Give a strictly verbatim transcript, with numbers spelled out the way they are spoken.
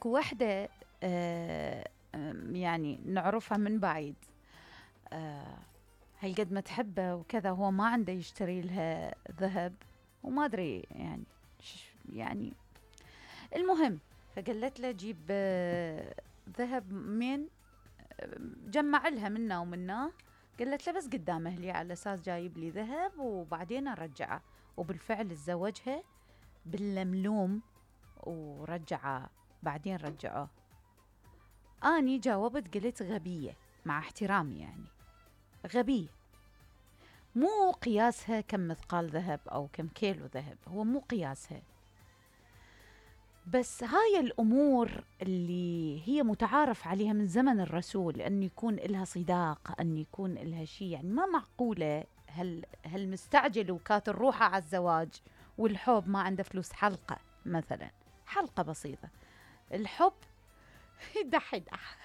اكو وحدة آه يعني نعرفها من بعيد، آه هالقد ما تحبه وكذا، هو ما عنده يشتري لها ذهب وما ادري يعني يعني المهم، فقالت له جيب آه ذهب من جمع لها منا ومناه. قالت له بس قدام اهلي على اساس جايب لي ذهب وبعدين ارجعه، وبالفعل تزوجها باللملوم ورجعه، بعدين رجعوه. اني جاوبت قلت غبية، مع احترامي يعني غبية، مو قياسها كم مثقال ذهب او كم كيلو ذهب، هو مو قياسها. بس هاي الأمور اللي هي متعارف عليها من زمن الرسول، أن يكون إلها صداق، أن يكون إلها شيء، يعني ما معقولة هل, هل مستعجل وكات الروحة على الزواج والحب ما عنده فلوس. حلقة مثلا، حلقة بسيطة، الحب يدح يدح